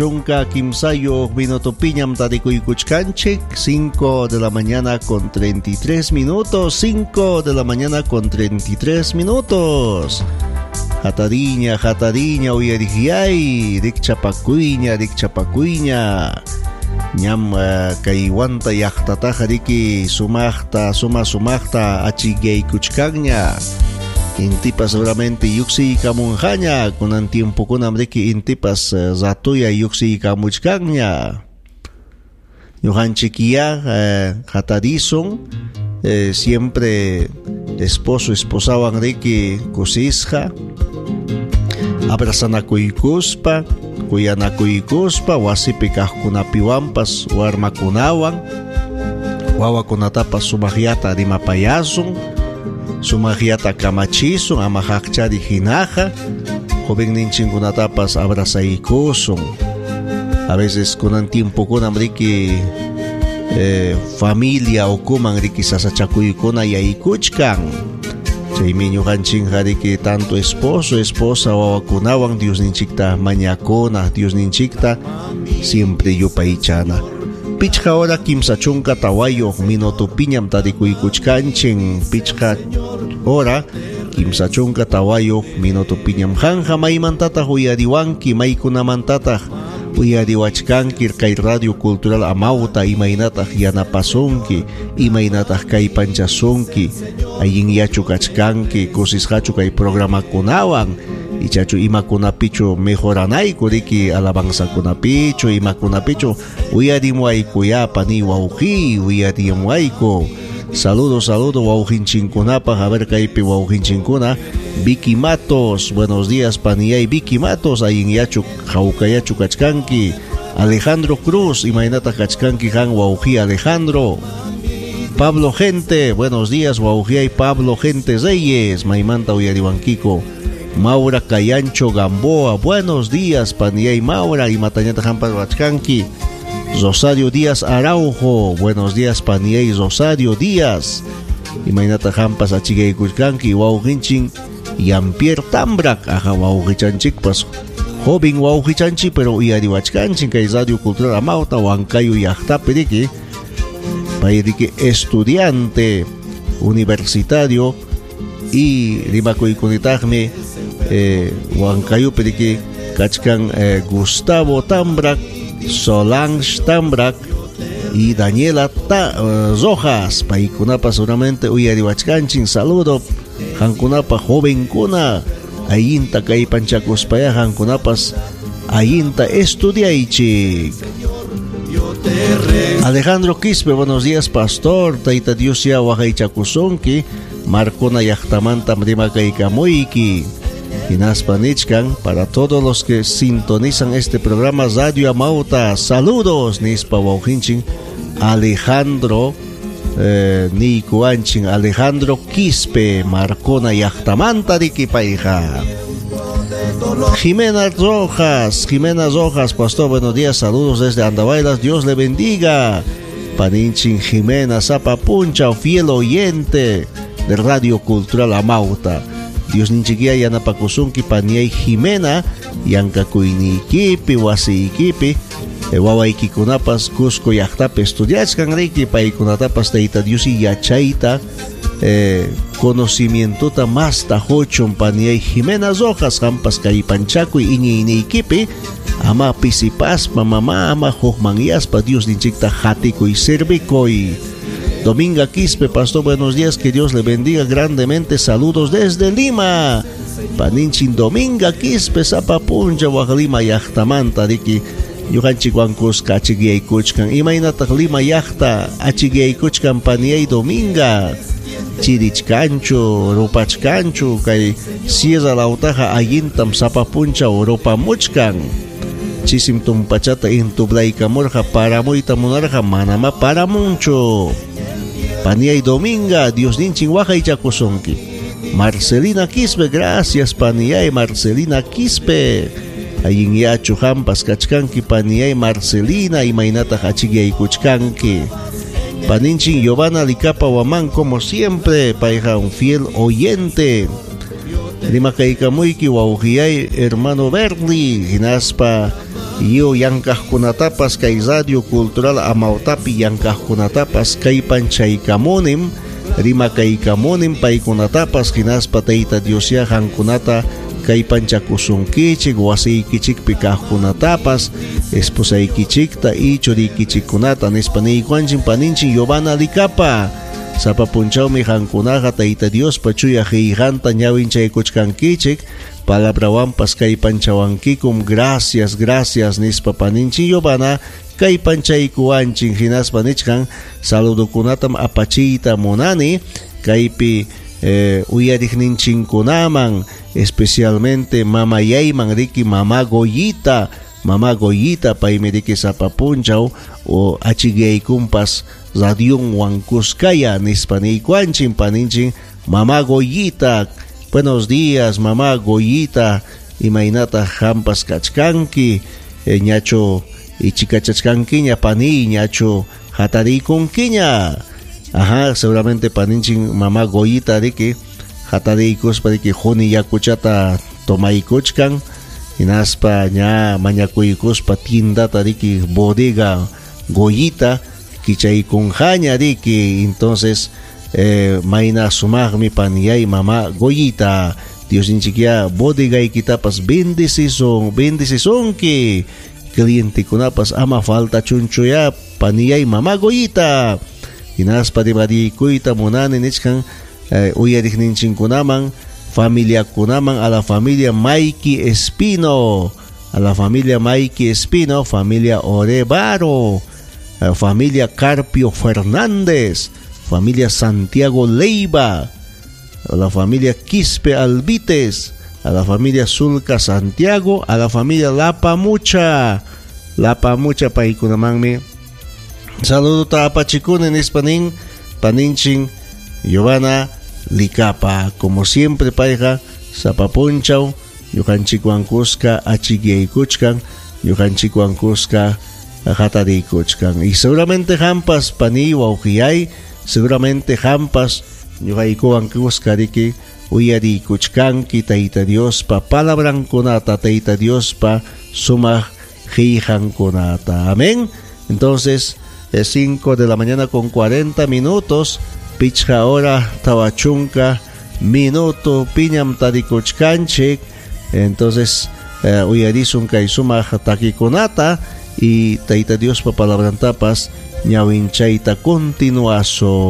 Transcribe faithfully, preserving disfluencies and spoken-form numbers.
Chunka kimsayuq minutopiñam tarikuykuchkanchik, cinco de la mañana con treinta y tres minutos, cinco de la mañana con treinta y tres minutos. Hatariña, hatariña, uyarihyay, rikchapakuyña, rikchapakuyña. Ñam uh, kay Huanta llaqtataqa riki sumaqta, suma sumaqta achikaykuchkanña. Intipas seguramente yuksiykamunqaña, kunan tiempokunam riki intipas uh, ratuya yuksiykamuchkanña. Ñuqanchikya uh, hatarisun, eh, siempre esposo esposawan riki kusisqa, abrazanakuykuspa, kuyanakuykuspa, wasipi kaqkunapiwanpas warmakunawan, wawakunatapas sumaqllata rimapayasun, sumaqllata kamachisun, ama haqchari hinaqa, jovenninchinkunatapas abrazaykusun. A veces kunan tiempokunam riki eh, familia ukuman riki sasachakuykuna yaykuchkan. Chaymi ñuqanchinqa riki tanto esposo, esposa, wawakunawan Diosninchikta mañakuna, Diosninchikta siempre yupaychana. Pichqa hora kimsa chunka tawayuq minutopiñam tarikuykuchkanchin, pichqa hora kimsa chunka tawayuq minutopiñam. Qanqa maymantataq uyariwanki, maykunamantataq uyariwachkanki kay Radio Cultural Amauta, imaynataq yanapasunki, imaynataq kaypanchasunki, allinyachu kachkanki, kusisqachu kay programakunawan, ichachu imakunapichu mejoranayku riki alabanzakunapichu, imakunapichu uyarimuayku pani wawqi, uyarimuayku. Saludo, saludo wawqinchinkunapaq, a ver kaypi wawqinchinkuna. Vicky Matos, buenos días paniyay Vicky Matos, allinyachu hawkayachu kachkanki. Alejandro Cruz, imaynataq kachkanki han wawqi Alejandro. Pablo Gente, buenos días wawqiyay Pablo Gente Reyes, maymanta uyariwankiko. Maura Cayancho Gamboa, buenos días paniyay Maura, imatañataq hampas wachkanki. Rosario Díaz Araujo, buenos días paniyay Rosario Díaz, imaynataq hampas achikaykuchkanki. Wawqinchin Yampier Tambrak, aja wawqichanchikpas joven wawqichanchik, pero uyariwachkanchin kay Radio Cultural Amauta Huancayo llaqtapi riki, pay riki estudiante universitario y rimakuykunitaqmi eh, Huancayupi riki kachkan eh, Gustavo Tambrak, Solange Tambrak y Daniela Ta, uh, Rojas, paykunapa seguramente uyariwachkanchin. Saludo hankunapa jovenkuna, allinta kaypanchakuspaya hankunapas allinta estudiaychik. Alejandro Quispe, buenos días pastor, tayta Dios ya waqaychakusunki, Marcona llaqtamanta rimakaykamuyki. Hinaspa nichkan, para todos los que sintonizan este programa Radio Amauta, saludos nispa wawqinchin Alejandro eh, niykuanchin Alejandro Quispe, Marcona llaqtamanta riki payqa. Jimena Rojas, Jimena Rojas, pastor, buenos días, saludos desde Andahuaylas, Dios le bendiga. Paninchin Jimena Zapapuncha, fiel oyente de Radio Cultural Amauta. Dios ninchikia yanapakusunki paniay Jimena, yankakuynikipi, wasiykipi, wawaykikunapas Cusco llaqtapi estudiachkan riki, paykunatapas tayta Dios yachayta, eh, conocimientota masta huchun paniay Jimena Rojas, hampas kaypanchakuy iñiyniykipi, ama pisipaspa mama ama hukmanyaspa Dios ninchikta hatikuy servikuy. Dominga Quispe, pastor, buenos días, que Dios le bendiga grandemente, saludos desde Lima. Paninchin Dominga Quispe, Zapapuncha, Lima llaqtamanta riki, ñuqanchik wankusqa achikaykuchkan, imaynataq Lima llaqta achikaykuchkan paniyay Dominga, chirichkanchu, rupachkanchu, kay sierra lawtaqa allintam Zapapuncha rupamuchkan. Chisim tumpachata intublaykamurqa paramuyta munarqa manama paramunchu. Paniay Dominga, Dios ninchin waqaychakusunki. Marcelina Quispe, gracias paniyay Marcelina Quispe. Allinyachu hampas kachkanki paniyay Marcelina, imaynataq achikaykuchkanki. Paninchin Giovanna Licapa Huamán, como siempre, payqa un fiel oyente. Rimakaykamuyki wawqiyay hermano Bernie, hinaspa Lliw llankaqkunatapas kay Radio Cultural Amautapi llankaqkunatapas kallpanchaykamunim, rimakaykamunim paykunatapas, hinaspa Tayta Diosyá qamkunata kallpanchakusunkichik, wasiykichikpi kaqkunatapas, esposaykichikta y churiykichikkunata nispa niykuanchin paninchik Giovanna Licapa. Sapa punchawmi qamkunaqa Tayta Diospa chuya qillqanta ñawinchaykuchkankichik, palabrawanpas kallpanchawankikum. Gracias, gracias nispa paninchik Giovanna kallpanchaykuwanchin, hinaspa nichkan saludokunatam apachiyta munani kaypi eh, uyariqninchinkunaman, especialmente mamayayman riki mama Goyita, mama Goyita paymi riki sapa punchaw o achikyaykunpas radionwan kuskaya nispa niykuanchin paninchik mama Goyita. Buenos días, mamá Goyita, imaynataq qampas kachkanki, eh, ñachu ichikachachkankiña pani, ñachu hatariykunkiña. Ajá, seguramente paninchik mamá Goyita riki hatariykuspa riki quni yakuchata tomaykuchkan, hinaspa ña mañakuykuspa tiendata riki bodega Goyita kichaykunjaña riki. Entonces eh, mayna sumaqmi paniyay mamá Goyita. Diosninchikyá bodegaykitapas bendecisun, bendecisunki, clientekunapas ama faltachunchuya paniyay mamá Goyita. Hinaspa rimarikuyta munani nichkan eh, uyariqninchinkunaman, familiakunaman, a la familia Maiki Espino, a la familia Maiki Espino, familia Orevaro, eh, familia Carpio Fernández, familia Santiago Leiva, a la familia Quispe Alvites, a la familia Zulca Santiago, a la familia La Pamucha, La Pamucha paykunamanmi saludo apachikuni nispa nin paninchik Giovanna Licapa. Como siempre payqa sapa punchaw ñuqanchikwan kuska achikyaykuchkan, ñuqanchikwan kuska hatariykuchkan. Y seguramente qampas paniy wawqiyay, seguramente qampas ñuqaykuwan kuska riki uyariykuchkanki Tayta Diospa palabrankunata, Tayta Diospa sumaq qillqankunata. Amén. Entonces, es cinco de la mañana con cuarenta minutos, pichqa hora tawa chunka minuto piñam tarikuchkanchik. Entonces, eh, uyarisun kay sumaq takikunata y Tayta Diospa palabrantapas ñawinchayta continuasun.